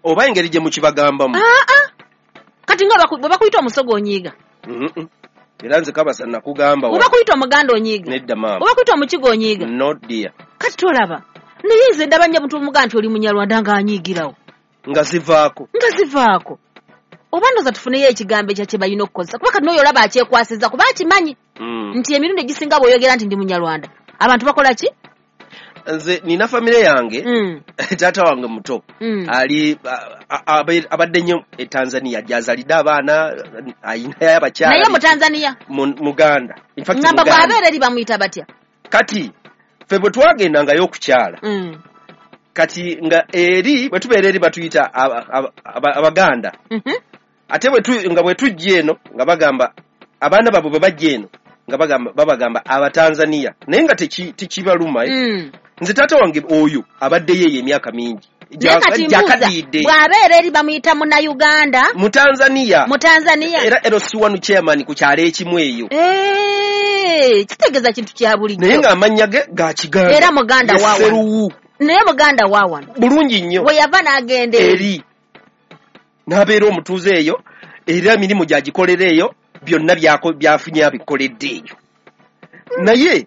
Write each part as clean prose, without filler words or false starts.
Oba engeri gye mukibagambamu. Kati nga bwe bakuyita Omusoga onyiiga? Era nze Kabasa nakugamba. Bwe bakuyita Omuganda onyiiga? Nedda maama. Bwe bakuyita Omukiga onyiiga? No dear. Kati tolaba, naye nze ndaba nnyo omuntu omuganda nti oli Munyarwanda ng'anyiigirawo. Nga zivaako. Nga zivaako. Oba ndowooza tufuneyo ekigambo ekya kye balina okukozesa, kuba kati n'oyo olaba akyekwasizza kuba akimanyi nti emirundi egisinga bw'oyogera nti ndi Munyarwanda abantu bakola ki? Nze nina famire yange, taata wange muto ali abadde nnyo e Tanzania, gy'azalidde abaana, ayinayo abakyala. Naye mu Tanzania? Muganda. In fact, ngamba Muganda. Bw'abeera eri bamuyita batya? Kati ffe bwe twagendangayo okukyala, kati nga eri bwe tubeera eri batuyita Abaganda. Ate nga bwe tujja eno nga bagamba abaana baabwe bwe bajja eno nga babagamba Abatanzania, naye nga tekibaluma. Nze taata wange oyo abaddeyo eyo emyaka mingi. Naye kati mbuuza, Jakadidde. bw'abeera eri bamuyita Munnayuganda? Mu Tanzania. Mu Tanzania. Era LC1 chairman ku kyalo ekimu eyo. Kitegeeza kintu kya bulijjo. Naye ng'amannya ge ga Kiganda. Era Muganda wa wano. Seruwu. Naye Muganda wa wano. Bulungi nnyo. Bwe yava n'agenda eri. N'abeera omutuuze eyo, era emirimu gy'agikolera eyo, byonna byafunye abikoledde eyo. Naye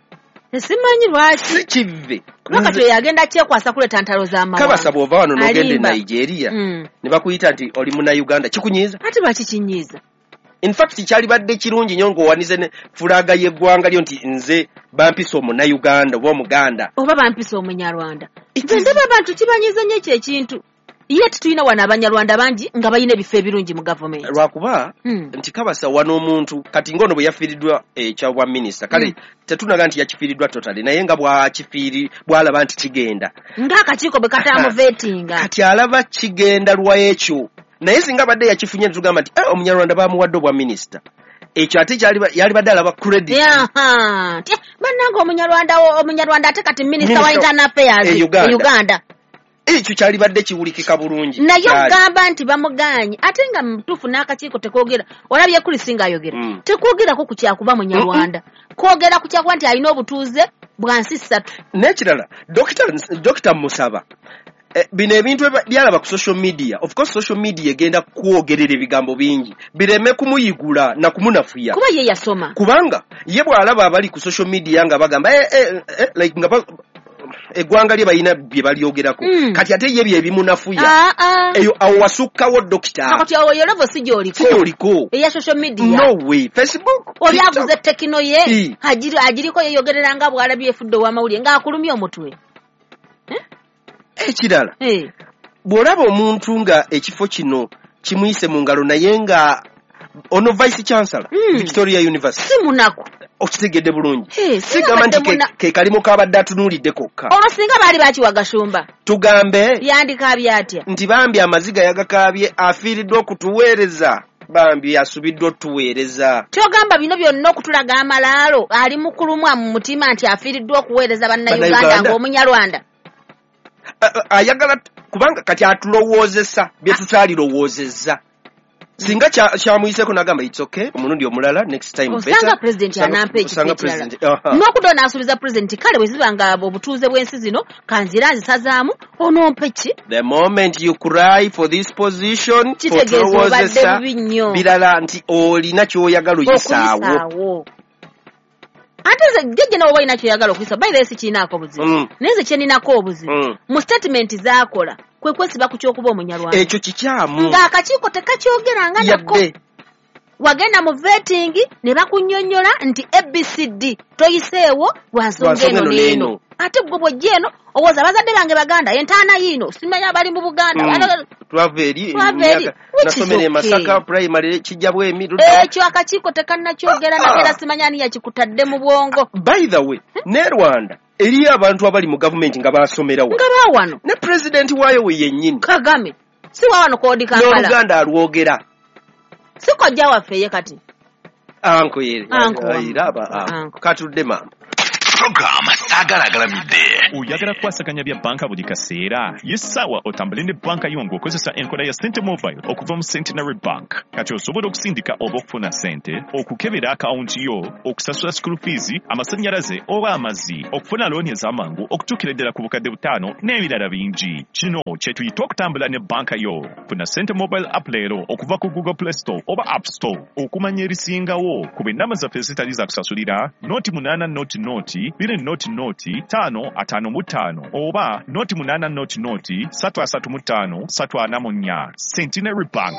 simanyi lwaki. Si kive. Kuba kati oyo agenda kyekwasa kuleeta ntalo z'amawanga. Kabasa bw'ova wano n'ogenda e Alimba. Nigeria, ne bakuyita nti oli Munnayuganda, kikunyiiza? Ate lwaki kinyiiza? In fact, kyalibadde kirungi nnyo ng'owanize ne fulaaga y'eggwanga lyo nti nze bampisa Omunnayuganda oba Omuganda. Oba bampisa Omunyarwanda. It Nze is ndaba abantu kibanyiiza nnyo ekyo ekintu. Ye tetulina wano Abanyarwanda bangi nga balina ebifo ebirungi mu gavumenti. Lwakuba nti Kabasa wano omuntu kati ng'ono bwe yafiiriddwa ekya bwa minisita, kale tetunaga nti yakifiiriddwa totally, naye nga bw'alaba nti kigenda. Ng'akakiiko bwe kataamuveetinga. Kati alaba kigenda lwa ekyo. Naye singa abadde yakifunye ne tugamba nti, Omunyarwanda baamuwadde obwa minisita. Ekyo ate yalibadde alaba credit. Nti, bannange Omunyarwanda ate kati minisita wa Minisita Internal Affairs e Uganda. e Uganda. Ekyo kyalibadde kiwulikika bulungi. Naye Kyali. ogamba nti bamugaanye, ate nga mutuufu n'akakiiko tekoogera. Olabye Chris ng'ayogera. Tekwogerako ku kyakuba Munyarwanda. Kwogera ku kyakuba nti alina obutuuze bwa nsi ssatu. N'ekirala, Dokita Musaba, bino ebintu byalaba ku social media. Of course social media egenda kwogerera ebigambo bingi bireme kumuyigula na kumunafuya. Kuba ye yasoma. Kubanga ye bw'alaba abali ku social media nga bagamba, like nga eggwanga lye balina bye balyogerako. Kati ate ye bye bimunafuya. Eyo awo wasukkawo dokita. Kati awo yo level si gy'oliko. Si gy'oliko. Eya social media. No way. Facebook, Oli TikTok. avuze tekino ye. Agiriko yeyogerera nga bw'alabye efudde ow'amawulire ng'akulumye omutwe. Ekirala. Bw'olaba omuntu nga ekifo kino kimuyise mu ngalo naye nga ono Vice Chancellor, Victoria University. Si munaku. Okitegedde bulungi. Singa Sigamba nti badde ke kalimu k'abadde atunuulidde kokka. Olwo singa baali bakiwa Gashumba. Tugambe. Yandikaabye atya? Nti bambi amaziga yagakaabye, afiiriddwa okutuweereza. Bambi asubiddwa otuweereza. Ky'ogamba bino byonna okutulaga amalaalo, ali mu kulumwa mu mutima nti afiiriddwa okuweereza Bannayuganda Bannayuganda. ng'Omunyarwanda. Ayagala kubanga kati atulowoozesa bye tutaalirowoozezza. Singa kyamuyiseko n'agamba it's okay, omulundi omulala, next time Osanga better. president anampa ekifo Osanga ekirala. president, aha. N'okudda n'asuubiza president kale bwe ziba nga obutuuze bw'ensi zino, kanzira nzisazaamu, onompe ki? The moment you cry for this position, Kitegeeza obadde otulowoozesa bubi nnyo. birala nti olina ky'oyagala oyisaawo. Okuyisaawo. Ate nze jjajja nawe oba olina ky'oyagala okuyisa, by the way sikiinaako buzibu. Naye nze kye nninako obuzibu. Mu statement z'akola, kwe kwesiba ku ky'okuba Omunyarwanda. Ekyo kikyamu. Ng'akakiiko tekakyogeranga nako. Yadde. Wagenda mu vetting ne bakunnyonnyola nti ABCD toyiseewo lwa nsonga Lwa nsonga eno eno n'eno. n'eno. Ate ggwe bw'ojja eno owooza abazadde bange Baganda, entaana yiino, simanyi abali mu Buganda. Twava eri, Twava eri. emyaka, Which is nasomera e okay. Masaka primary, kijja bwemi, ludda. Ekyo akakiiko tekannakyogera nako era simanyi ani yakikutadde mu bwongo. By the way, ne Rwanda eriyo abantu abali mu gavumenti nga baasomera wano. Nga baawano. Ne pulezidenti waayo we yennyini. Kagame. Si wa wano koodi Kampala. N'Oluganda alwogera. Si kojja waffe ye kati. Anko ye. Anko wamu. Era aba, anko. Anko. Katudde maama. Program Saagala Agalamidde. Oyagala kukwasaganya bya banka buli kaseera? Ye ssaawa otambule ne banka yo ng'okozesa enkola ya Sente Mobile okuva mu Centenary Bank. Kati osobola okusindika oba okufuna ssente, okukebera akawunti yo, okusasula school fees, amasannyalaze oba amazzi, okufuna looni ez'amangu okutuukira ddala ku bukadde 5 n'ebirala bingi. Kino kye tuyita okutambula ne banka yo. Funa Sente Mobile app leero okuva ku Google Play Store oba App Store. Okumanya ebisingawo ku ennamba zaffe ezitali za kusasulira 08 0 0 2 0 0 5 55 oba 08 0 0 335 344. Centenary Bank.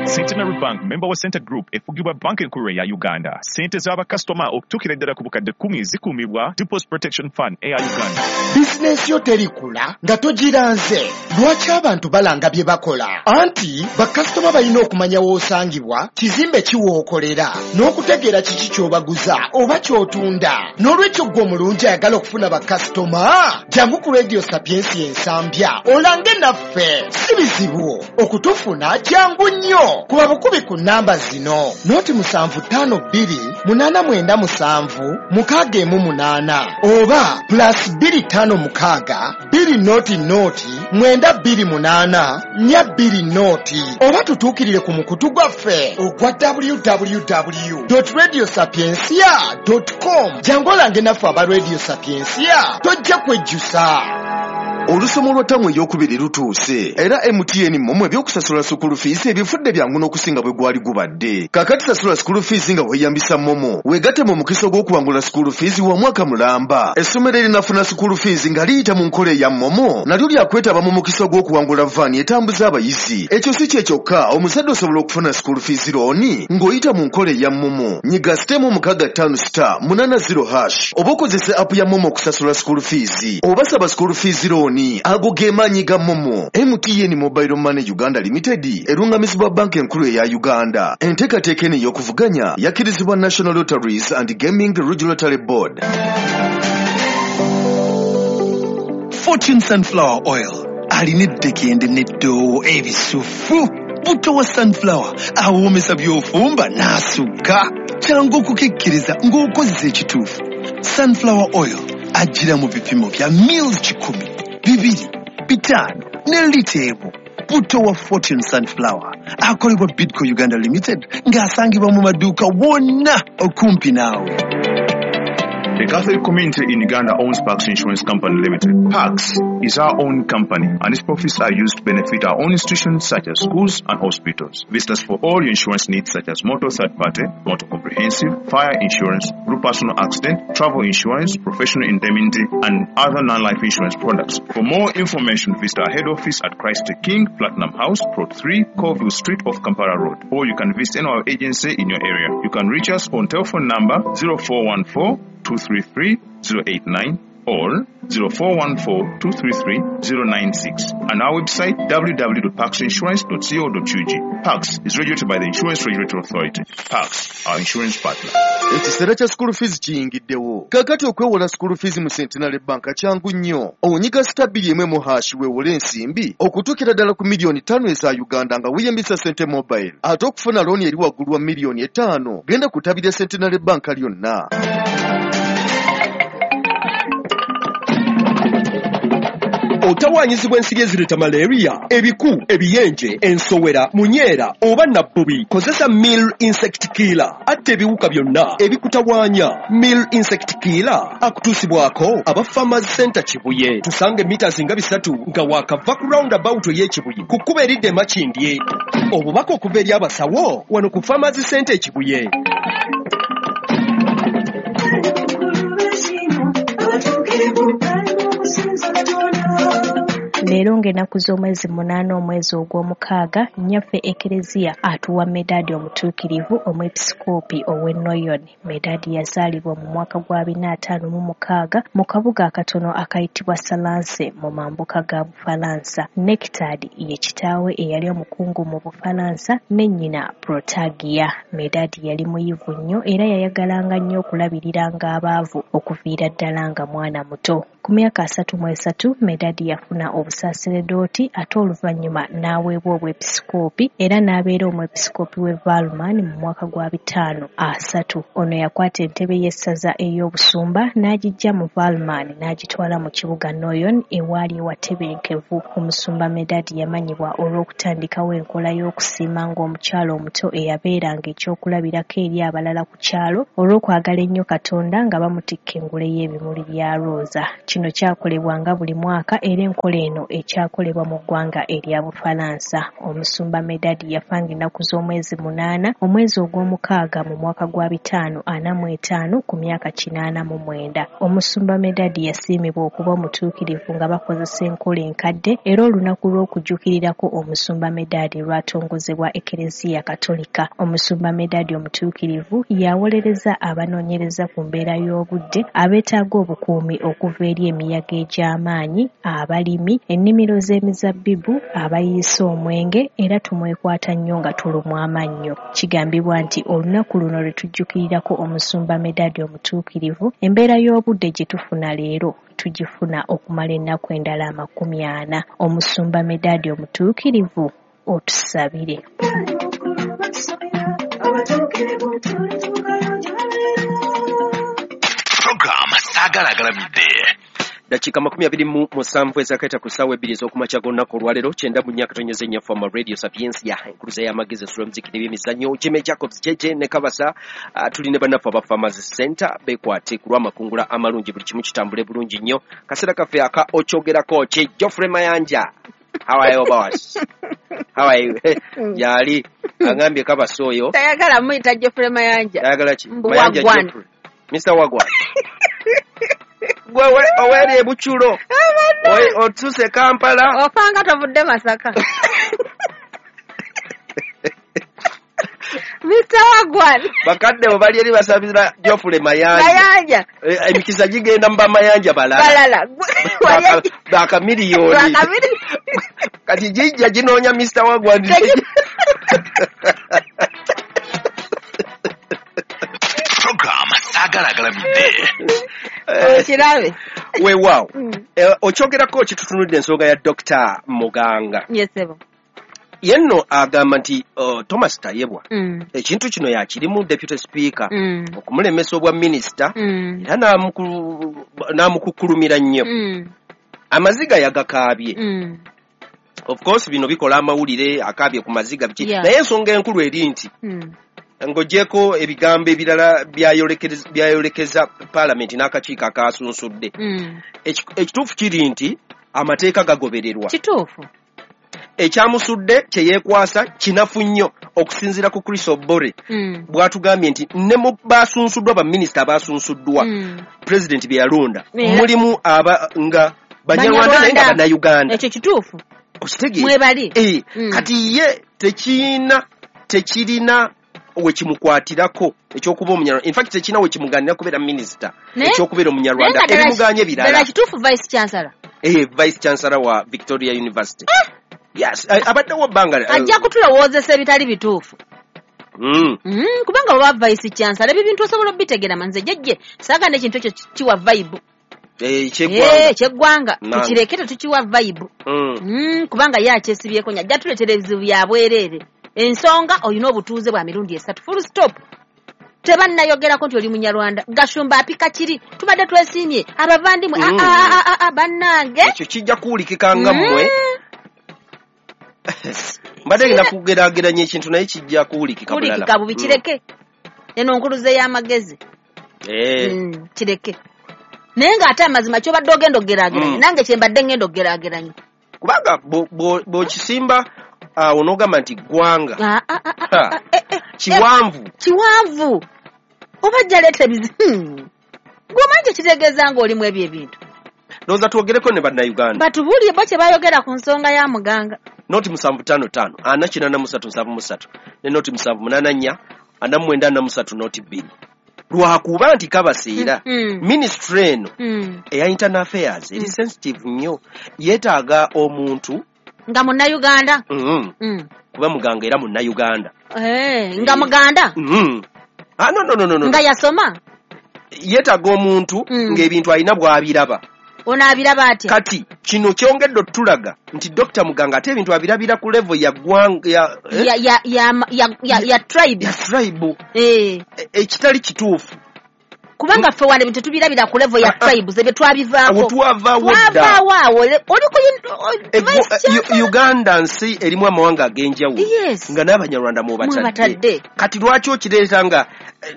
Centenary Bank, member wa Center Group, efugibwa banka enkulu eya Uganda. Sente z'abakasitoma okutuukira ddala ku bukadde 10 zikuumibwa Deposit Protection Fund eya Uganda. Bizinensi yo terikula nga togiranze. Lwaki abantu balanga bye bakola? Anti bakasitoma balina okumanya w'osangibwa, kizimbe ki w'okolera, n'okutegeera kiki ky'obaguza oba ky'otunda. N'olwekyo ggwe omulungi ayagala okufuna bakasitoma, jangu ku Radio Sapiensia Ensambya olange naffe. Si bizibu okutufuna, jangu nnyo. Kuba bukubi ku namba zino: 0752 897 618 oba +256 200 928 420, oba tutuukirire ku mukutu gwaffe ogwa www.radiosapiensia.com. Jangu olange naffe aba Radio Sapiensia, tojja kwejjusa. Olusomo lwa ttamu ey'okubiri lutuuse era MTN MoMo ebyokusasula school fees ebifudde byangu n'okusinga bwe gwali gubadde. Kaakati sasula school fees nga weeyambisa MoMo, weegatte mu mukisa ogw'okuwangula school fees wa mwaka mulamba. Essomero erinafuna school fees nga liyita mu nkola eya MoMo nalyo lyakwetaba mu mukisa ogw'okuwangula vaani etambuza abayizi. Ekyo si kye kyokka, omuzadde osobola okufuna school fees looni ng'oyita mu nkola eya MoMo. Nyiga *656*80# oba okozese app ya MoMo okusasula school fees oba saba school fees looni. Ago ge maanyi ga MoMo. MTN Mobile Money Uganda Limited erungamizibwa banka enkulu eya Uganda. Enteekateeka eno ey'okuvuganya yakkirizibwa National Lotteries and Gaming Regulatory Board. Fortune Sunflower Oil alina eddekende n'eddoowo ebisufu. Buto wa sunflower awoomesa by'ofumba n'asukka. Kyangu okukikkiriza ng'okozesa ekituufu. Sunflower Oil ajjira mu bipimo bya mils 100, 200, 500 ne lita 1. Buto wa Fortune Sunflower akolebwa Bidco Uganda Limited ng'asangibwa mu maduuka wonna okumpi naawe. The Catholic community in Uganda owns Pax Insurance Company Limited. Pax is our own company and its profits are used to benefit our own institutions such as schools and hospitals. Visit us for all your insurance needs such as motor third party, motor comprehensive, fire insurance, group personal accident, travel insurance, professional indemnity and other non-life insurance products. For more information, visit our head office at Christ the King, Platinum House, Plot 3, Colville Street off Kampala Road. Or you can visit any of our agency in your area. You can reach us on telephone number 0414 233 089 or 0414 233 096 and our website www.paxinsurance.co.ug. Pax is regulated by the Insurance Regulatory Authority. Pax, our insurance partner. Ekiseera kya school fees kiyingiddewo. Kaakati okwewola school fees mu Centenary Bank kyangu nnyo. Onyiga *2 # weewole ensimbi okutuukira ddala ku miliyoni 5 eza Uganda nga weeyambisa Sente Mobile. Ate okufuna looni eri waggulu wa miliyoni 5 genda kutabira Centenary Bank lyonna. Otawaanyizibwa ensiri ezireeta malaria, ebiku, ebiyenje, ensowera, munyeera oba nabbubi. Kozesa Mill Insect Killer atta ebiwuka byonna ebikutawaanya. Mill Insect Killer akutuusibwako aba Farmers Center Kibuye. Tusange mita zinga 3 nga waakava ku roundabout ey'Ekibuye ku kkubo eridda e Makindye. Obubaka okuva eri abasawo wano ku Farmers Center Ekibuye. Leero ng'ennaku z'omwezi 8 omwezi ogw'omukaaga, nnyaffe Ekereziya atuwa Medadi omutuukirivu omwepisikoopi ow'e Noyon. Medadi yazaalibwa mu mwaka gwa 456 mu kabuga akatono akayitibwa Salanse mu mambuka ga Bufalansa. Nectad ye kitaawe eyali omukungu mu Bufalansa ne nnyina Protagia. Medadi yali muyivu nnyo era yayagalanga nnyo okulabiriranga abaavu okuviira ddala nga mwana muto. Ku myaka 33 Medadi yafuna obusa obwabasaseredooti ate oluvannyuma n'aweebwa obwepisikoopi era n'abeera omwepisikoopi w'e Valman mu mwaka gwa 530. Ono yakwata entebe y'essaza ey'obusumba n'agiggya mu Valman n'agitwala mu kibuga Noyon ewaali ewatebenkevu. Omusumba Medard yamanyibwa olw'okutandikawo enkola y'okusiima ng'omukyala omuto eyabeeranga ekyokulabirako eri abalala ku kyalo olw'okwagala ennyo Katonda nga bamutikka engule y'ebimuli bya Rosa. Kino kyakolebwanga buli mwaka era enkola eno ekyakolebwa mu ggwanga erya Bufalansa. Omusumba Medard yafa ng'ennaku z'omwezi 8 omwezi ogw'omukaaga mu mwaka gwa 545 ku myaka 89. Omusumba Medard yasiimibwa okuba omutuukirivu nga bakozesa enkola enkadde era olunaku lw'okujjukirirako omusumba Medard lwatongozebwa Ekereziya Katolika. Omusumba Medard omutuukirivu yawolereza abanoonyereza ku mbeera y'obudde abeetaaga obukuumi okuva eri emiyaga egy'amaanyi, abalimi, ennimiro z'emizabbibu, abayiisa omwenge era tumwekwata nnyo nga tulumwa amannyo. Kigambibwa nti olunaku luno lwe tujjukirirako omusumba Medard omutuukirivu, embeera y'obudde gye tufuna leero tugifuna okumala ennaku endala 40. Omusumba Medard omutuukirivu, otusabire. Program Saagala Agalamidde. Dakiika 27 ezakaita ku ssaawa 2 ez'okumakya g'olunaku olwaleero 94.4 Fama Radio Sapiensia, enkuluza y'amagezi esula omuziki n'ebyemizannyo. Jimmy Jacobs JJ ne Kabasa, tuli ne bannaffe aba Farmers Center beekwate ku lw'amakungula amalungi, buli kimu kitambule bulungi nnyo. Kaseera kaffe aka okyogerako ki Geoffrey Mayanja. How are you, boss? How are you? Yali agambye Kabasa oyo tayagala muyita Geoffrey Mayanja. Tayagala ki? Mayanja Geoffrey. Mr. Wagwan. Gwe oweri ebuchulo otuse Kampala ofanga tovudde Masaka. Mr. Wagwan bakadde bo bali eri basabira Geoffrey Mayanja. Emikisa gigenda mba Mayanja balala bakamiliyoni kati jijja ginoonya Mr. Wagwan. Program Saagala Agalamidde. Okirabe weewaawo. Okyogerako kitutunudde ensonga ya Dr. Muganga. Yes, sebo. Ye nno agamba nti Thomas Tayebwa ekintu kino yakirimu deputy speaker okumulemesa obwa minisita era n'amukukkulumira nnyo. Amaziga yagakaabye. Of course bino bikola amawulire, akaabye ku maziga biki. Naye ensonga enkulu eri nti ng'ogyeko ebigambo ebirala byayolekeza paalamenti n'akakiiko akasunsudde. Ekituufu kiri nti amateeka gagobererwa. Kituufu. Ekyamusudde kye yeekwasa kinafu nnyo okusinziira ku Chris Obore bw'atugambye nti ne mu basunsuddwa baminisita abasunsuddwa pulezidenti bye yalonda mulimu aba nga Banyarwanda naye nga Bannayuganda. Ekyo kituufu. Okitegeera? Mwebali. Kati ye tekirina wekimukwatirako ekyokuba Omunyarwanda. In fact tekirina wekimugaanira kubeera minisita ekyokubeera Omunyarwanda ebimuganye birala. Ddala kituufu Vice Chancellor. Vice Chancellor wa Victoria University. Yes, abaddewo bbanga. Ajja kutulowoozesa ebitali bituufu. Kubanga bw'oba Vice Chancellor ebyo bintu osobola obitegeera manze jjajje saagala ekintu ekyo kiwa vibe. Ekyeggwanga tukireke tetukiwa vibe. Kubanga ye akyesibyeko nnyo ajja tuleetera ebizibu bya bwereere. Ensonga olina obutuuze bwa mirundi 3 full stop. Tebannayogerako nti oli Munyarwanda. Gashumba apika kiri tubadde twesiimye abavandimwe bannange. Ekyo kijja kuwulikika nga mmwe. Mbadde ngenda kugeraageranya ekintu naye kijja kuwulikika bulala. Kuwulikika bubi kireke. Eno nkuluze y'amagezi. Kireke. Naye ng'ate amazima ky'obadde ogenda okugeraageranya nange kye mbadde ngenda okugeraageranya. Kubanga bw'okisimba awo n'ogamba nti ggwanga kiwanvu. Kiwanvu. Oba ajja leeta ebizibu. Gw'omanyi kye kitegeeza ng'olimu ebyo ebintu. Ndowooza twogereko ne Bannayuganda. Batubuulire bo kye bayogera ku nsonga ya Muganga. Noti 755 483 73 ne noti 784 49 noti 2. Lwakuba nti kabaseera ministry eno eya internal affairs eri sensitive nnyo, yeetaaga omuntu nga Munnayuganda. Kuba Muganga era Munnayuganda. Nga Muganda? No. Nga yasoma? Yeetaaga omuntu ng'ebintu alina bw'abiraba. Ono abiraba atya? Kati kino kyongedde otulaga nti Dr. Muganga ate ebintu abirabira ku level ya ggwanga ya tribe. Ya tribe. Ekitali kituufu. Kubanga ffe wano ebintu tetubirabira ku level ya tribes, ebyo twabivaako. Twavaawo dda. Twavaawo awo. Oli ku Uganda nsi erimu amawanga ag'enjawulo. Nga n'Abanyarwanda mwebatadde. Kati lwaki okireeta nga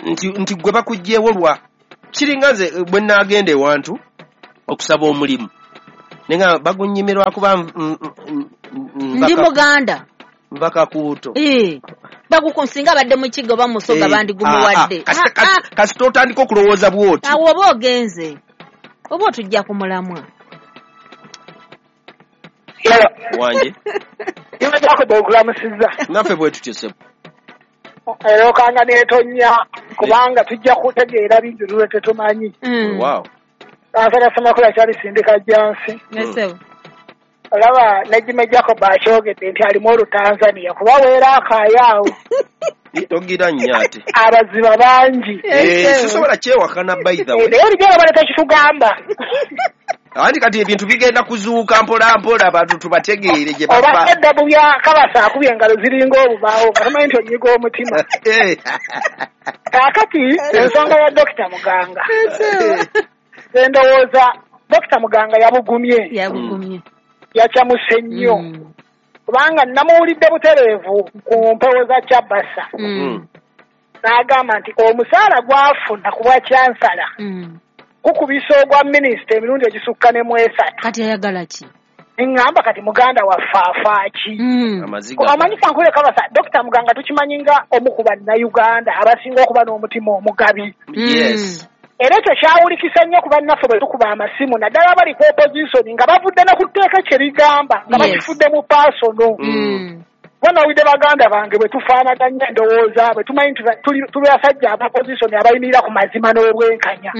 nti gwe bakuggyewo lwa kiringa nze bwe nnaagenda ewantu okusaba omulimu. Nenga bagunyimirwa kuba ndi Muganda. Nva Kakuuto. Bagukunsinga abadde mu kigo bamusoga bandigumuwadde. Kasita otandika okulowooza bw'oti. Awo oba ogenze. Oba otujja ku mulamwa. Wanje. Naffe bwe tutyo ssebo. Era okanga n'etonnya kubanga tujja kutegeera bingi lwe tetumanyi. Wow. Kansala Ssemakula kyalisindika Jansi. Olaba Nejime Jacob akyogedde nti alimu Olutanzania kuba weera akaaya awo. Togira nnyo ate. Abaziba bangi. Sisobola kyewakana by the way. Naye olijja bale tekitugamba. Anti kati ebintu bigenda kuzuuka mpola mpola abantu tubategeere gye bava. Oba eddabu bya Kabasa akubye engalo ziringa obubaawo katamanyi nti onyiga omutima. Kaakati ensonga ya Dr. Muganga. Ndowooza Dr. Muganga yabugumye. Yabugumye. Yakyamuse nnyo. Kubanga namuwulidde butereevu ku mpewo za Kyabasa. N'agamba nti omusaala gw'afuna ku bwa kyansala gukubisa ogwa minisita emirundi egisukka ne mu esatu. Kati ayagala ki? Ŋŋamba kati muganda waffe afa ki? Omanyi kankule Kabasa, Dr. Muganga tukimanyi nga omu ku bannayuganda abasinga okuba n'omutima omugabi. Yes. Era ekyo kyawulikisa nnyo ku bannaffe bwe tukuba amasimu naddala abali ku opposition nga bavudde ne ku tteeka kye ligamba nga bakifudde mu paasono. Banawulidde baganda bange bwe tufaanaganya endowooza bwe tumanyi nti tuli basajja aba opposition abayimirira ku mazima n'obwenkanya.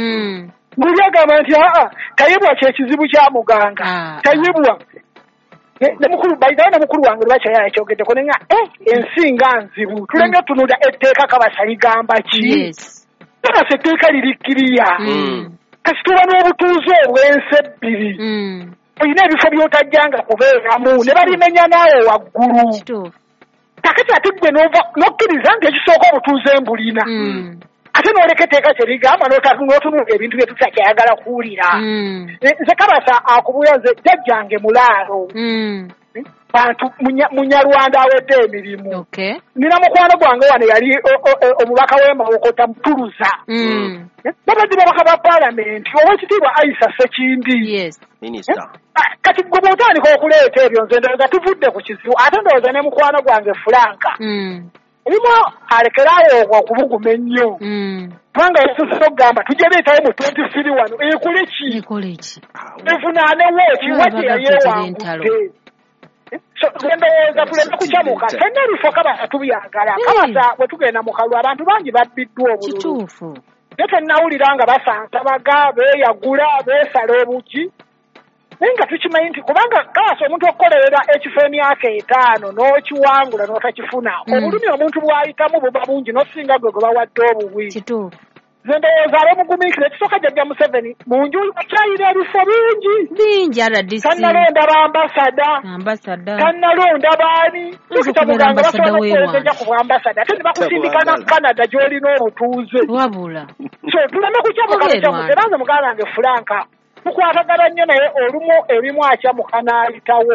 Buli agamba nti aa Tayebwa kye kizibu kya Muganga. Tayebwa ne mukulu bayidayo ne mukulu wange lwaki yakyogeddeko ne nga ensi nga nzibu tuleme tunuulira etteeka Kabasa ligamba ki? Kabasa etteeka liri kkiriya. Kasi tuba n'obutuuze obw'ensi ebbiri. Olina ebifo by'otajjanga kubeeramu ne balimenya naawe waggulu. Kakati ate ggwe n'okkiriza nti ekisooka obutuuze mbulina. Ate n'oleka etteeka kye ligamba n'otunuulira ebintu bye tutakyayagala kuwulira. Nze Kabasa akubuulira nze jjajjange mulaalo. Bantu Munyarwanda awedde emirimu. Nina mukwano gwange wano yali omubaka w'e Mawokota Mutuluza. Babadde babaka ba paalamenti owekitiibwa Aisha Ssekindi. Kati gwe bw'otandika okuleeta ebyo nze ndowooza tuvudde ku kizibu ate ndowooza ne mukwano gwange Fulanka. Ebimu alekeraawo okubuguma ennyo. Kubanga yasusse okugamba tujja leetawo mu 23 wano ekole ki? Evunaane ki? Wadde yayeewangudde. So ndowooza tuleme kukyamuka ffenna ebifo Kabasa tubyagala. Kabasa bwe tugenda mu kalulu abantu bangi babbiddwa obululu. Kituufu. Naye tennawulira nga basansabaga beeyagula beesala obugi. Naye nga tukimanyi nti kubanga Kabasa omuntu okukolerera ekifo emyaka 5 n'okiwangula n'otakifuna obulumi omuntu bw'ayitamu buba bungi n'osinga gwe gwe bawadde obuwi. Kituufu. Nze ndowooza abamugumiikira ekisooka jjajja Museveni mu nju akyayira ebifo bingi. Bingi RDC. Tannalonda ba ambasada. Tannalonda baani. Dokita Muganga basobola okuweereza ku bwambasada ate ne bakusindika na Canada gy'olina obutuuze. Wabula. So tuleme kukyamuka bukyamuka era nze muganda wange Fulanka tukwatagana nnyo naye olumu ebimu akyamuka n'ayitawo.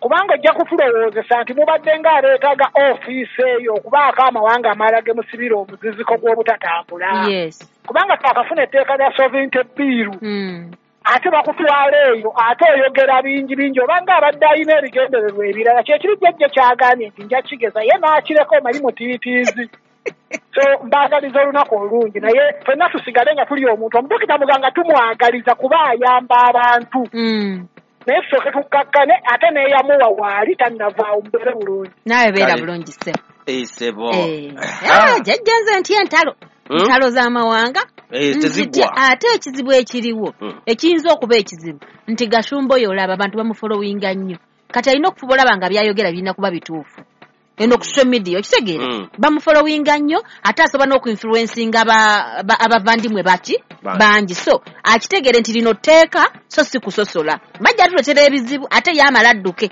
Kubanga ojja kutulowoozesa nti mubadde ng'aleetaga ofiisi eyo okubaako amawanga amalala ge musibira omuziziko gw'obutatambula. Kubanga twakafuna etteeka lya sovereignty bill. Ate bakutwala eyo ate oyogera bingi bingi obanga abadde alina ebigendererwa ebirala kyekiri jjajja kyagambye nti nja kigeza ye n'akireka omanyi mutiitiizi. So mbaagaliza olunaku olungi naye ffenna tusigale nga tuli omuntu omudokita Muganga tumwagaliza kuba ayamba abantu. Naye tusooke tukkakkane ate neeyamuwa waali tannavaawo mubeere bulungi. Naawe beera bulungi ssebo. Ssebo. Jjajja nze ntya entalo. Entalo z'amawanga. Tezigwa. Ate ekizibu ekiriwo ekiyinza okuba ekizibu nti Gashumba oyo olaba abantu bamufolowinga nnyo. Kati alina okufuba olaba nga byayogera birina kuba bituufu. Eno ku social media okitegeera bamufollowinga nnyo ate asobola n'okuinfluencinga abavandimwe baki Bangi. So akitegere nti lino tteeka so si kusosola. Bajja tuletera ebizibu ate yamala adduke.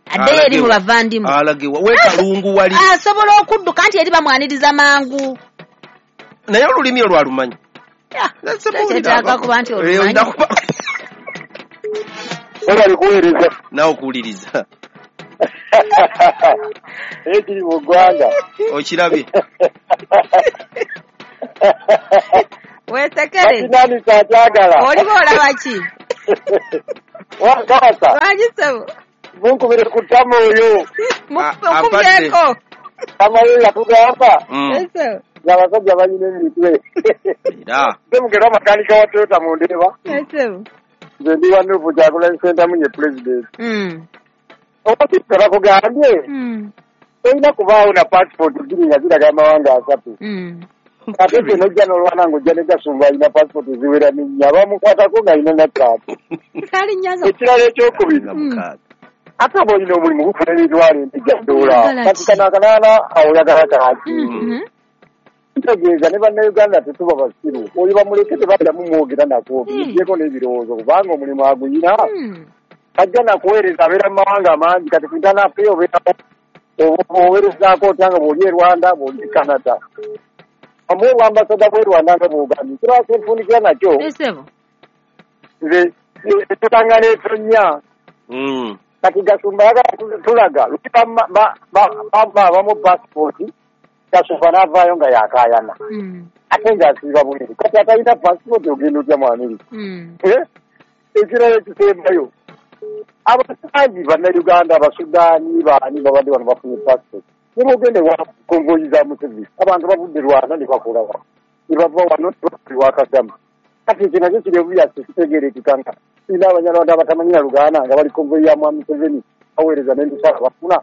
Addeyo eri mu bavandimu. Alagewa we Kalungu wali. Asobola okudduka nti eri bamwaniriza mangu. Naye olulimi olwalumanyi. Kyetaaga kuba nti olumanyi. Webale kuweereza. Naawe okuwuliriza. Ekiri mu ggwanga. Okirabye. Weesekere. Nani kyakyagala. Oliba olaba ki? Wakasa. Lwaki ssebo? Munkubire ku ttama oyo. Mukubyeko. Ttama oyo yatugamba. Ssebo. Ng'abasajja balina emitwe. Era. Ssemugera makanika wa Toyota mu Ndeeba. Ssebo. Nze ndi wa Nuupu Kyagulanyi Ssentamu ye pulezidenti. Oba bakugambye tolina kubaawo na passport bbiri nga ziraga amawanga asatu. Ate ffe n'ojja n'olwana ng'ojja ne Gasumba alina passport ziwera nnya bamukwatako ng'alina na ttaano. Ekirala ekyokubiri ate oba olina omulimu gufuna emitwalo empija ddoola kati kano akanaana awo oyagala kaki? Ntegeeza ne bannayuganda tetuba basiru oyo bamuleke tebaddamu mwogera nako bigyeko n'ebirowoozo kubanga omulimu aguyina ajja nakuweereza abeera mu mawanga mangi kati kuntanafe obeerawo oweerezaako otya nga bw'oli e Rwanda bw'oli e Canada amuwe obwambasada bw'e Rwanda nga bw'ogambye kirala kyenfundikira nakyo nze etutangana etonnya kati Gasumba ayagala tulaga abamu pasipooti Gasumba n'avaayo nga yakaayana ate ng'asiiba bweru kati atalina pasipooti ogenda otya mu Amerika. Ekirala ekisembayo abasangi bannayuganda abasudaani baani babadde wano bafunye passport ne bogende wa konvoyi za Museveni abantu bavudde Rwanda ne bakola wano ne bava wano ne wa Kagame kati ekyo nakyo kiri obvious kitegeerekeka nga tulina Abanyarwanda abatamanyi na Luganda nga bali konvoyi ya Mwami Museveni baweereza n'emisaala bafuna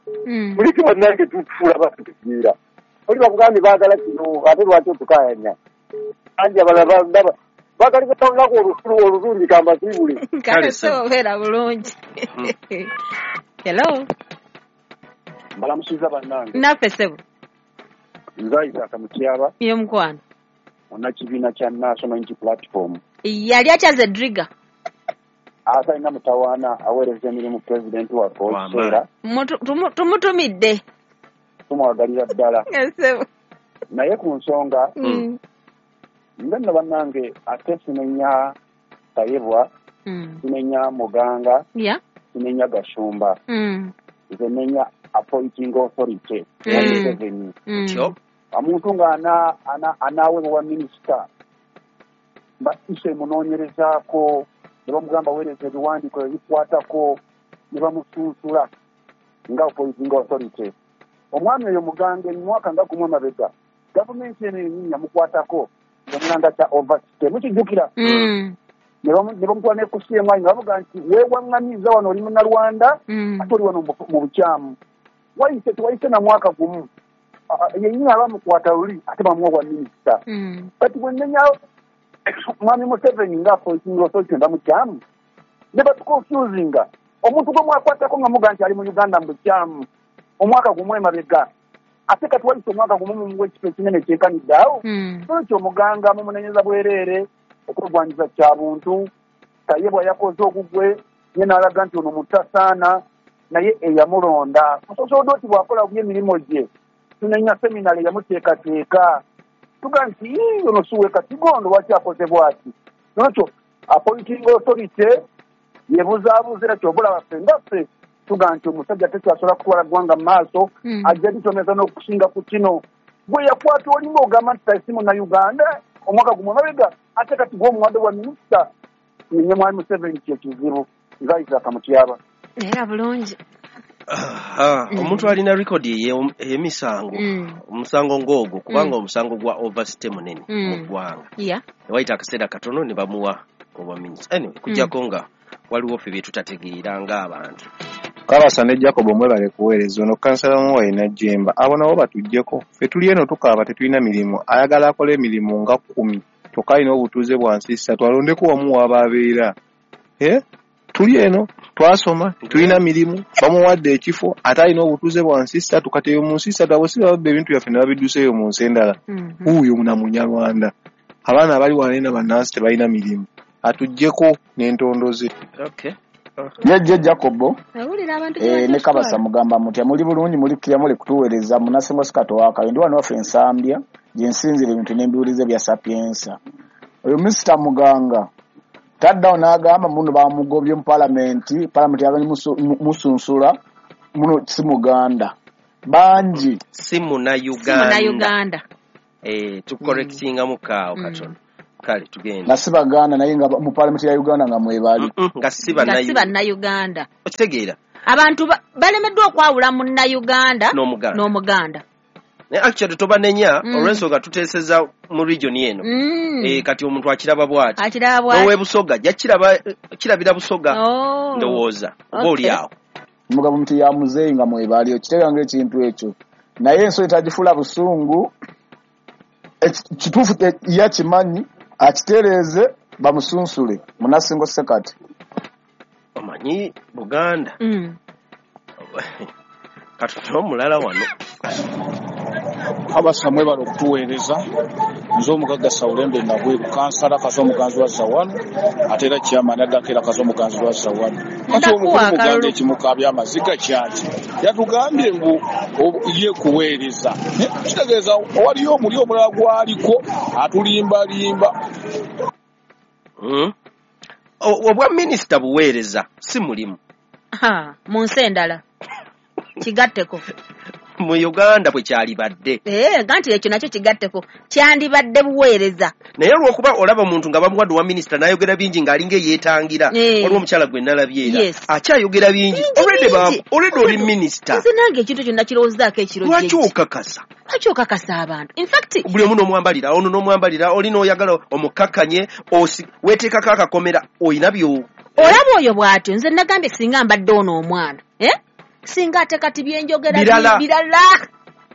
muleke bannange tufuula batutegeera oli bakugambye baagala kino ate lwaki otukaayanya anti abalala ndaba bagaliza olunaku olusulu olulungi kambasiibule. Kale ssebo obeera bulungi. Hello. Mbalamusiza bannange. Naffe ssebo. Nze Isaac Mutyaba. Ye mukwano. Munnakibiina kya National Unity Platform. Yali akyaze Driga. Atalina mutawaana aweereza emirimu pulezidenti waffe ow'ekiseera. Tumutumidde. Tumwagalira ddala. Ssebo. Naye ku nsonga nze nno bannange ate sinenya Tayebwa, sinenya Muganga, sinenya Gashumba. Nze nenya appointing authority Museveni. Omuntu nga anaawebwa minisita ise munoonyerezaako ne bamugamba weereza ebiwandiiko ebikwatako ne bamusunsula nga appointing authority. Omwami oyo Muganga emwaka nga gumu emabega gavumenti eno yennyini yamukwatako omulanga kya overstay mukijjukira ne bamutwala ne ku CMI nga bavuga nti weewaŋŋamizza wano oli Munnalwanda ate oli wano mu bukyamu wayise tewayise na mwaka gumu yennyini abamukwata luli ate bamuwa bwa minisita. Kati bwe nnenya Mwami Museveni nga appointing authority nga mukyamu ne batuconfusinga omuntu gwe mwakwatako nga muga nti ali mu Uganda mu bukyamu omwaka gumu emabega ate kati wayise omwaka gumu mumuwa ekifo ekinene kyekanidde awo. Nolwekyo Omuganga mumunenyeza bwereere okwegwanyiza kya buntu. Tayebwa yakoze ogugwe ye n'alaga nti ono mutasaana naye eyamulonda musosodooti bw'akola bubi emirimu gye tunenya seminale yamuteekateeka tuga nti ono siwe katigondo lwaki akoze bw'ati. Nolwekyo appointing authority yebuzaabuza era ky'oba olaba ffe nga ffe tuga nti omusajja tekyasobola kutwala ggwanga mu maaso ajja litomeza n'okusinga ku kino gwe yakwata olinga ogamba nti si Munnayuganda omwaka gumu emabega ate kati gwe omuwadde bwa minisita nenye Mwami Museveni kye kizibu. Nze Isaac Mutyaba. Era bulungi. Omuntu alina rekodi ey'emisango omusango ng'ogwo kubanga omusango gwa overstay munene mu ggwanga wayita akaseera katono ne bamuwa obwa minisita. Anyway kujjako nga waliwo ffe bye tutategeera ng'abantu. Kabasa ne Jacob mwebale kuweereza ono kansala Muwayi Najjemba abo nabo batuggyeko ffe tuli eno tukaaba tetulina mirimu ayagala akole emirimu nga 10 kyokka alina obutuuze bwa nsi ssatu alondeko wamu w'aba abeera. Tuli eno twasoma tulina mirimu bamuwadde ekifo ate alina obutuuze bwa nsi ssatu kati eyo mu nsi ssatu abo si babba ebintu byaffe ne babidduseeyo mu nsi endala. Wuuyo na Munyarwanda Abaana abali wano eno bannansi tebalina mirimu. Atuggyeko n'entondo ze. Okay. Yejje Jacobo Awulira abantu ne Kabasa mugamba mutya muli bulungi muli kira muli kutuweereza munasingo sikato wakayo ndi wano waffe Ensambya gye nsinzira ebintu n'embiwulize bya Sapienza. Oyo Mr. Muganga taddawo n'agamba muno bamugobye mu palamenti, palamenti yaganye musunsula muno si Muganda bangi si Munnayuganda. Si Munnayuganda. Tucorrectinga mukaawo katono. Kale tugenda. Na si Baganda naye nga mu palamenti ya Uganda nga mwebali. Nga si Bannayuganda. Okitegeera. Abantu balemeddwa okwawula Munnayuganda n'Omuganda. Naye actually tobanenya olw'ensonga tuteeseza mu region eno. Kati omuntu akiraba bw'ati. N'ow'e Busoga ajja kirabira Busoga. Ndowooza oba oli awo. Mugabo muti ya muzeeyi nga mwebali okitegeera ng'ekintu ekyo. Naye ensonga etagifuula busungu kituufu yakimanyi akitereeze bamusunsule munasingo sekati. Omanyi Buganda. Katono omulala wano. Abasa mwebale okutuweereza. Nze omugagga Sawulembe Nabweru, kansala Kazo omuganzi wa Zawanu, ate era chairman addako era Kazo omuganzi wa Zawanu. Kati omukulu Muganda ekimukaabya amaziga kyaki? Yatugambye ngu ye kuweereza. Kitegeeza waliyo omuli omulala gwaliko atulimbalimba. Obwa minisita buweereza si mulimu. Mu nsi endala kigatteko. Mu Uganda bwe kyalibadde. Ganti ekyo nakyo kigatteko kyandibadde buweereza. Naye olw'okuba olaba omuntu nga bamuwadde wa minisita n'ayogera bingi ng'alinga eyeetangira. Waliwo omukyala gwe nalabye era akyayogera bingi. Already oli minisita. Nze nange ekintu ekyo nakirowoozaako ekiro Lwaki okakasa? Lwaki okakasa abantu? In fact buli omu n'omwambalira, ono n'omwambalira, oli n'oyagala omukakkanye, weeteekako akakomera, oyina byo. Olaba oyo bw'atyo nze nagambye singa mbadde ono omwana. Singa ate kati byenjogera birala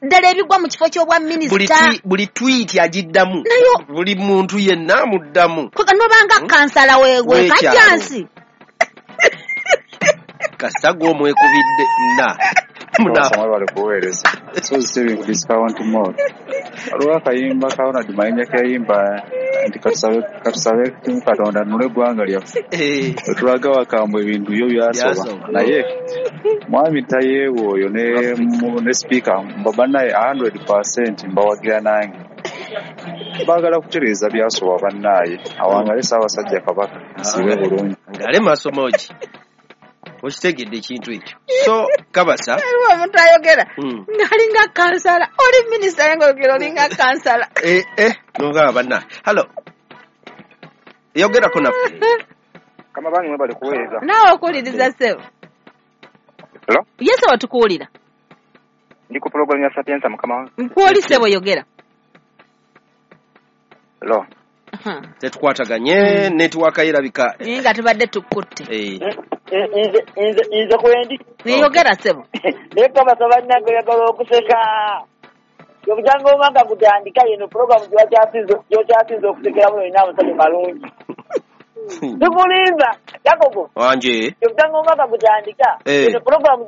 ddala ebigwa mu kifo ky'obwa minisita. Buli tweet agiddamu, buli muntu yenna amuddamu. Nobanga kansala we Kajjansi. Kasita gw'omwekubidde na. Mwebale kuweereza. So saving discount more. Waliwo akayimba ka Ronald Mayinja ke yayimba nti katusabe Katonda nule eggwanga lyaffe. Otulaga wakambwe ebintu byo byasoba. Naye mwami Tayeebwa oyo ne sipiika bannaye 100% mbawagira nange. Baagala kutereeza byasoba bannaye. Awangale Ssaabasajja Kabaka. Nsibe bulungi. Ngale maaso mogi. Okitegedde ekintu ekyo. So Kabasa waliwo omuntu ayogera ng'alinga kansala, oli minisita naye ng'oyogera olinga kansala. Nogamba bannaye. Hello. Yogerako naffe. Kama bange mwebale kuweereza. Naawe okuwuliriza ssebo. Hello? Ye ssebo tukuwulira. Ndi ku pulogulaamu ya Sapienza mukama wange. Nkwoli ssebo yogera. Hello. Tetukwataganye netiwaka erabika. Naye nga tubadde tukutte. Nze kwendi. Neyogera ssebo. Naye Kabasa bannange oyagala okuseka. Obujanga omwaka gutandika yeno pulogulaamu gy'okyasinze okusekeramu olina amassanyu malungi. Tukulimba Jacobo. Wanje. Obujanga omwaka gutandika yeno pulogulaamu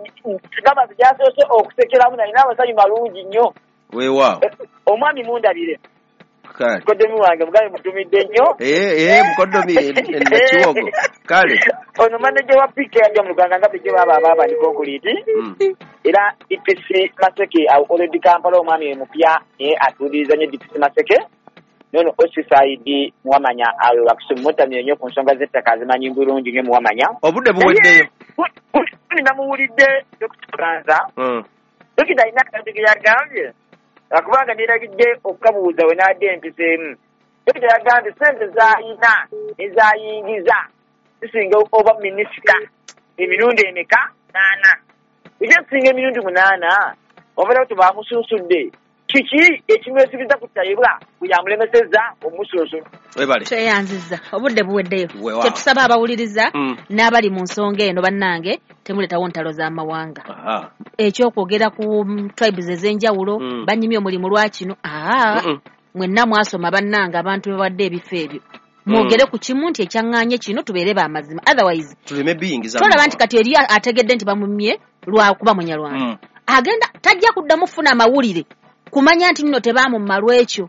Kabasa gyasoose okusekeramu nalina amasanyu malungi nnyo. Weewaawo. Omwami mundabire. Kale. Mukoddomi wange mugambe mutumidde nnyo. Mukoddomi Nakiwogo. Kale. Ono manager wa PK yajja mu Luganda nga bulijjo baaba abaaba ndi concrete. Era DPC Maseke already Kampala omwami mupya naye atuuliriza nnyo DPC Maseke. Nono OCCID Muwamanya awo wakusumutamye nnyo ku nsonga z'ettaka azimanyi bulungi nnyo Muwamanya. Obudde buweddeyo. Namuwulidde Dr. Ganza. Dokita alina akantu ke yagambye. Akubanga neerabidde okukabuuza we n'adde empiseemu. Dokita yagambye ssente z'ayina ez'ayingiza zisinga oba minisita emirundi emeka? 8. Ekyo emirundi 8 obeera tebamusunsudde. Kiki ekimwesibiza ku Tayebwa bwe yamulemesezza omusunsulo? Webale. Tweyanzizza obudde buweddeyo. Kyetusaba abawuliriza n'abali mu nsonga eno bannange temuleetawo ntalo z'amawanga. Ekyokwogera ku tribes ez'enjawulo banyimye omulimu lwa kino. Mwenna mwasoma bannange abantu bebawadde ebifo ebyo. Mwogere ku kimu nti ekyaŋŋaanye kino tubeere b'amazima. Otherwise tuleme biyingiza. Tolaba nti kati eri ategedde nti bamumye lwakuba Munyarwanda. Agenda tajja kuddamu kufuna amawulire Kumanya nti nno tebaamumma lwekyo.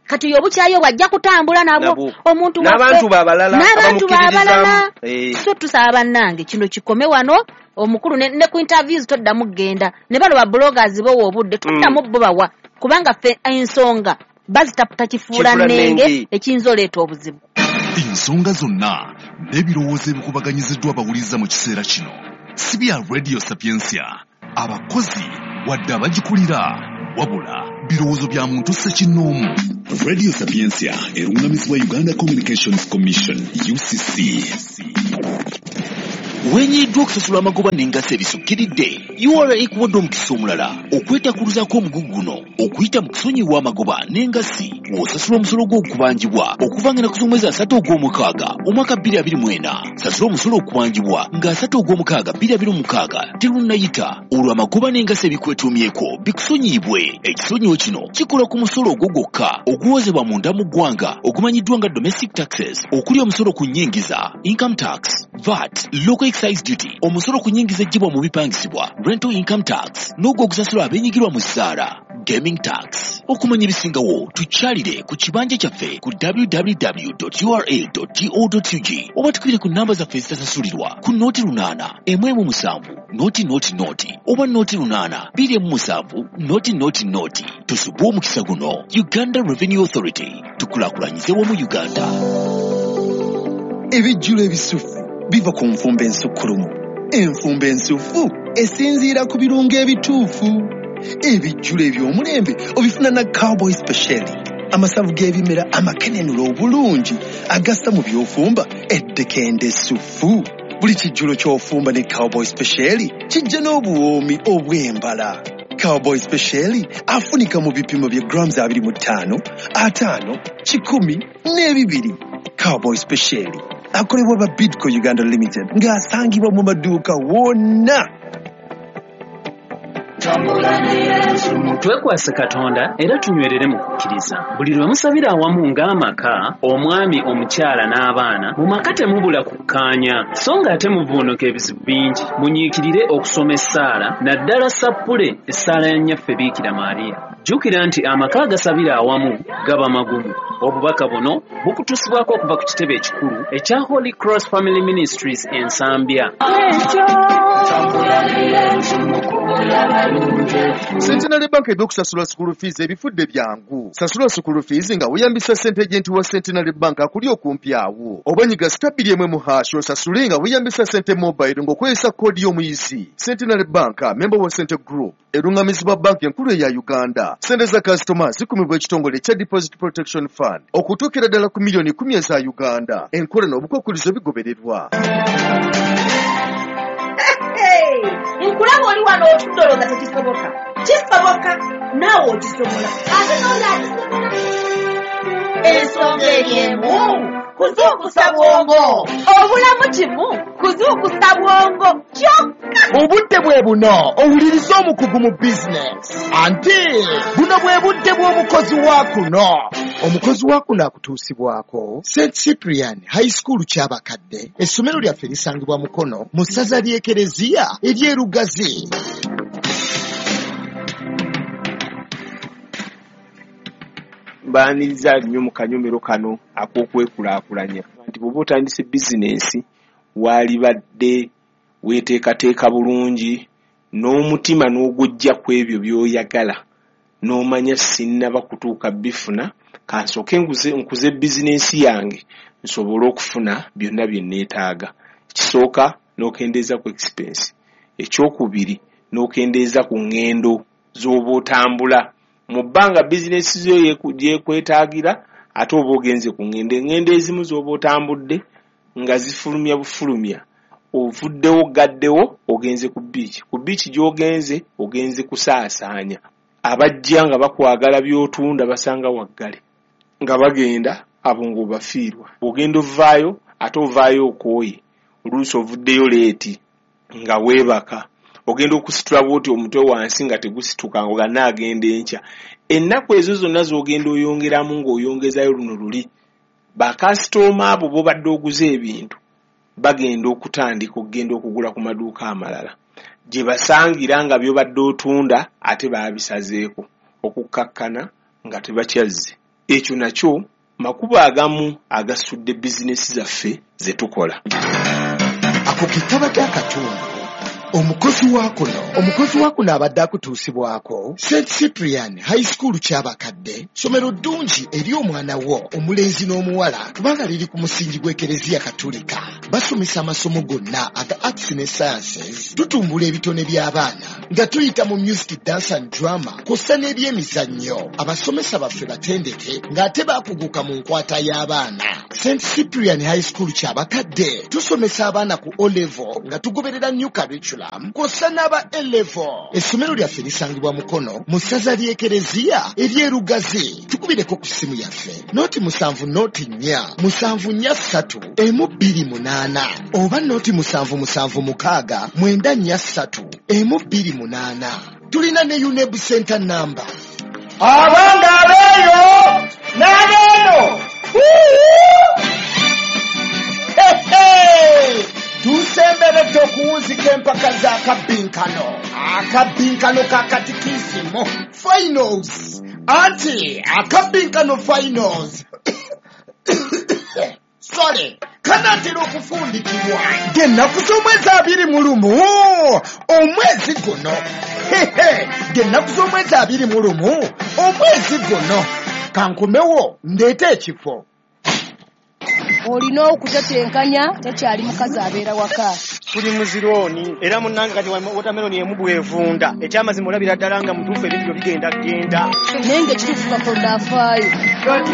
Kati oyo obukyayi obwo ajja kutambula nabwo omuntu n'abantu babalala n'abantu babalala. So tusaba bannange kino kikome wano. Omukulu ne ku interviews toddamu kugenda ne bano ba bloggers bowa obudde toddamu bo bawa, kubanga ffe ensonga bazitaputa kifuula nnenge ekiyinza oleeta obuzibu. Ensonga zonna n'ebirowoozo ebikubaganyiziddwa abawuliriza mu kiseera kino si bya Radio Sapientia, abakozi wadde abagikulira, wabula birowoozo bya muntu ssekinnoomu. Radio Sapientia erungamizibwa Uganda Communications Commission UCC. Wenyiddwa okusasula amagoba n'engassi ebisukkiridde, URA ekuwadde omukisa omulala okwetakuluzaako omugugu guno okuyita mu kusonyiwa amagoba n'engassi w'osasula omusolo gw'okubanjibwa okuva ng'ennaku z'omwezi 3 ogw'omukaaga omwaka 2024. Sasula omusolo okubanjibwa nga 3 ogw'omukaaga 2026 terunnayita, olwo amagoba n'engassi ebikwetuumyeko bikusonyiyibwe. Ekisonyiwo kino kikola ku musolo ogwo gwokka oguwozebwa munda mu ggwanga ogumanyiddwa nga domestic taxes, okuli omusolo ku nnyingiza, income tax, VAT, local excise duty, omusolo ku nnyingiza eggyibwa mu bipangisibwa, rental income tax, n'ogwo ogusasulwa abeenyigirwa mu ssaala, gaming tax. Okumanya ebisingawo tukyalire ku kibanja kyaffe ku www.ura.go.ug oba tukubire ku namba zaffe ezitasasulirwa ku 08 17 0 0 oba 08 27 0 0. Tusubwe omukisa guno. Uganda Revenue Authority, tukulaakulanyize wamu Uganda. Ebijjulo ebisufu biva ku nfumba ensukkulumu. Enfumba ensufu esinziira ku birungo ebituufu. Ebijjulo eby'omulembe obifuna na Cowboy Special, amasavu g'ebimera amakenenula obulungi agassa mu by'ofumba eddekende essufu. Buli kijjulo ky'ofumba ne Cowboy Special kijja n'obuwoomi obw'embala. Cowboy Special afunika mu bipimo bya grams 25, 50, 100 n'ebibiri. Cowboy Special akolebwa ba Bidco Uganda Limited ng'asangibwa mu maduuka wonna. Twekwase Katonda era tunywerere mu kukkiriza. Buli lwe musabira awamu ng'amaka, omwami, omukyala n'abaana, mu maka temubula kukkaanya, so ng'ate muvvuunuka ebizibu bingi. Munyiikirire okusoma essaala, naddala sappule essaala ya Nnyaffe Biikira Maria. Jjukira nti amaka agasabira awamu gaba magumu. Obubaka buno bukutuusibwako okuva ku kitebe ekikulu ekya Holy Cross Family Ministries e Nsambya. Centenary Bank ebyokusasula school fees ebifudde byangu. Sasula school fees nga weeyambisa ssente agent wa Centenary Bank akuli okumpi awo. Oba nyiga *1 osasule nga weeyambisa ssente mobile ng'okozesa koodi y'omuyizi. Centenary Bank, member wa Sente Group, erungamizibwa banki enkulu eya Uganda. Ssente za kasitoma zikumibwa ekitongole ekya Deposit Protection Fund okutuukira ddala ku miliyoni 10 eza Uganda. Enkola n'obukwakkulizo bigobererwa. Nkulaba oli wano otudde olowooza tekisoboka. Kisoboka, naawe okisobola. Ate n'oli akisobola. Ensonga eri emu, kuzuukusa bwongo. Obulamu kimu, kuzuukusa bwongo kyokka. Obudde bwe buno owuliriza omukugu mu bizinesi. Anti buno bwe budde bw'omukozi wa kuno. Omukozi wa kuno akutuusibwako St Cyprian High School Kyabakadde. Essomero lyaffe lisangibwa Mukono mu ssaza ly'Ekereziya ery'e Lugazi. Mbaaniriza nnyo mu kanyomero kano ak'okwekulaakulanya nti bw'oba otandise bizinensi waalibadde weeteekateeka bulungi n'omutima n'ogujja ku ebyo by'oyagala n'omanya sinnaba kutuuka bifuna, kansooke nkuze bizinensi yange nsobole okufuna byonna bye neetaaga. Ekisooka n'okendeeza ku expense, ekyokubiri n'okendeeza ku ŋŋendo z'oba otambula. Mu bbanga bizinensi zo gyekwetaagira ate oba ogenze ku ŋŋendo, eŋŋendo ezimu z'oba otambudde nga zifulumya bufulumya, ovuddewo gaddewo ogenze ku bbiici. Ku bbiici gy'ogenze ogenze kusaasaanya. Abajja nga bakwagala by'otunda basanga waggale nga bagenda abo ng'obafiirwa. Ogenda ovaayo ate ovaayo okooye, oluusi ovuddeyo leeti nga weebaka, ogenda okusitula bw'oti omutwe wansi nga tegusituka nga naagenda enkya. Ennaku ezo zonna z'ogenda oyongeramu ng'oyongezayo luno luli, bakasitooma abo b'obadde oguza ebintu bagenda okutandika okugenda okugula ku maduuka amalala gye basangira nga by'obadde otunda ate baabisazeeko. Okukkakkana nga tebakyazze. Ekyo nakyo makubo agamu agasudde bizinesi zaffe ze tukola. Ako ke kabadde akatundu omukozi wa kuno. Omukozi wa kuno abadde akutuusibwako St Cyprian High School Kyabakadde, ssomero ddungi eri omwana wo omulenzi n'omuwala kubanga liri ku musingi gw'Ekereziya Katulika. Basomesa amasomo gonna aga arts ne sciences. Tutumbula ebitone by'abaana nga tuyita mu music, dance and drama kw'ossa n'ebyemizannyo. Abasomesa baffe batendeke ng'ate baakuguka mu nkwata y'abaana. St Cyprian High School Kyabakadde tusomesa abaana ku O level nga tugoberera new curriculum kw'ossa n'aba A level. Essomero lyaffe lisangibwa Mukono mu ssaza ly'Ekereziya ery'Erugazi. Tukubireko ku ssimu yaffe 070 04 743 128 oba 0776 943 128. Tulina ne UNEB Center number. Abange abeeyo n'abeeno, tusemberedde okuwunzika empaka z'akabbinkano, akabbinkano ka katikisimu finals, anti akabbinkano finals, sorry, kanaatera okufundikibwa ng'ennaku z'omwezi 21 omwezi guno. Ng'ennaku z'omwezi 21 omwezi guno. Kankomewo ndeete ekifo. Olina okutetenkanya, tekyali mukazi abeera waka. Tuli muzirooni era munnange kati watermelon emu bwevunda, ekyamazima olabira ddala nga mutuufu ebintu byo bigenda genda. Naye ng'ekituufu Katonda afaayo.